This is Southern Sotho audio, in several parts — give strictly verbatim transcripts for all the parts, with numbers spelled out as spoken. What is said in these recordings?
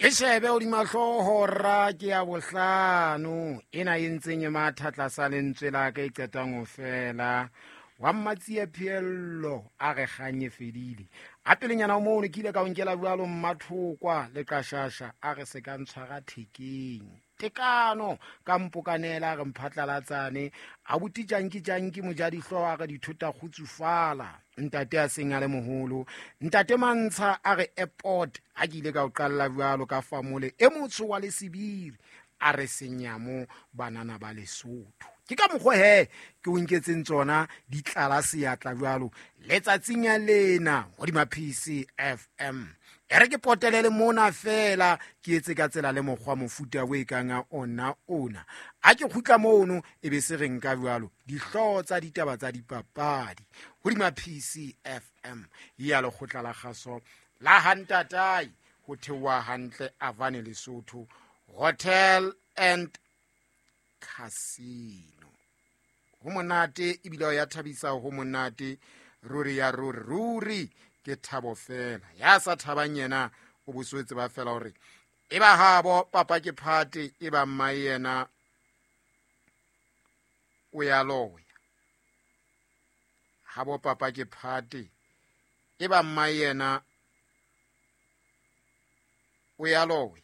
E shebe hodima hlooho ra ke ya bohlano ena e ntseng e matha tlasa lentswe la ka e qetang ho fela. Wa Mmatsie Phiello a re kganye fedile. A pelenyana mono ke ile ka o nkela jwalo Mmathokwa le Qashasha a re se ka ntshwara thekeng. Tekano ka mpokanela a re mphatlalatsane a buti janki janki mojadihlo a re dithota kgutsufala. Ntate a seng a le moholo. Ntate Mantsha a re airport ha ke ile ka o qalla jwalo ka famole e motsho wa Lesibiri a re senyamo banana ba Lesotho. Ke ka mokgwa he ke o nketseng tsona di tlala seatla jwalo letsatsing ya lena hodima P C F M. E re ke potelele mona fela ke etse ka tsela le mokgwa mofuta o e kang a ona ona. A ke kgutla mono e be se re nka jwalo dihlooho tsa ditaba tsa dipapadi hodima P C F M ya lekgotla la kgaso la Hantatai ho theoha hantle Avane Lesotho Hotel and Casino. Ho monate ebile ya thabisa ho monate ruri ya ruri ruri ke thabo fela. Ya sa thabang yena o boswetse ba fela hore e ba habo papa ke phate e ba mma yena o ya loya. Habo papa ke phate e ba mma yena o ya loya.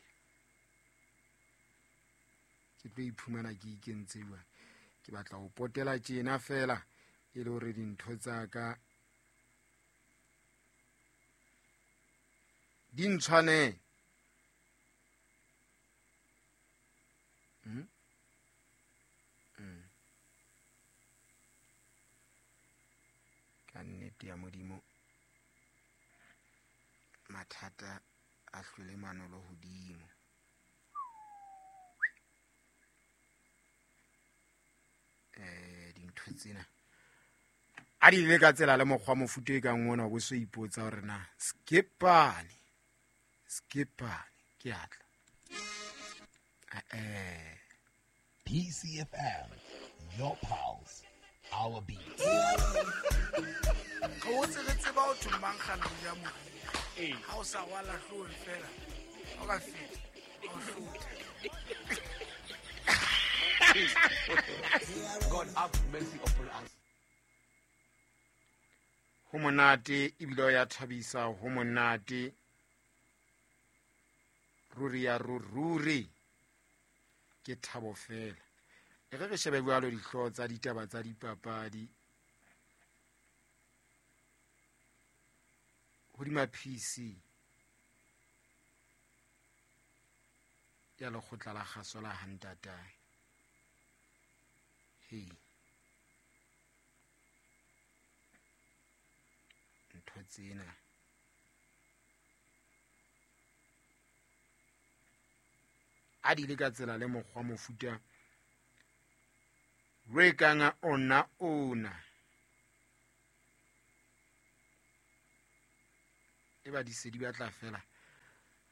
Ke tlo iphumana ke ikentse jwang. Ke batla ho potela tjena fela e le hore dintho tsa ka di ntshwane. Mm? Mm. Ka nnete ya Modimo mathata a hlwele manolo hodimo. Eh dintho tsena a di le ka tsela le mokgwa mofuta e kang ona o bo so ipotsa hore na skipane skipane ke atla eh P C F M, your pulse, our beat. Ga o tsebe tseba o thomang gana ya mo. Ha o sa wala hloohong fela. O ka feta. O hlotha. God have mercy upon us. Ho monate ebile ya thabisa ho monate ruri ya ruri ke thabo fela. E re re shebe jwalo dihlooho tsa ditaba tsa dipapadi hodima P C ya lekgotla la kgaso la Hantatai. Hey. Ntho tsena a di le ka tsela le mokgwa mofuta re kang ona ona e ba di se di batla fela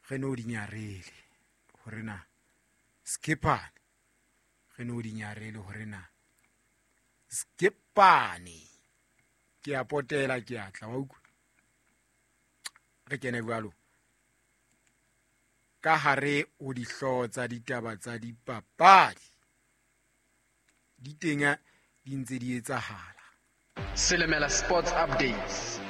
re no di nyarele hore na skipane re no di nyarele hore na skipane ke a potela ke atla wa utlwa re kene jwalo ka hare o dihlooho tsa ditaba tsa dipapadi di teng di ntse di etsahala. Selemela Sports Updates.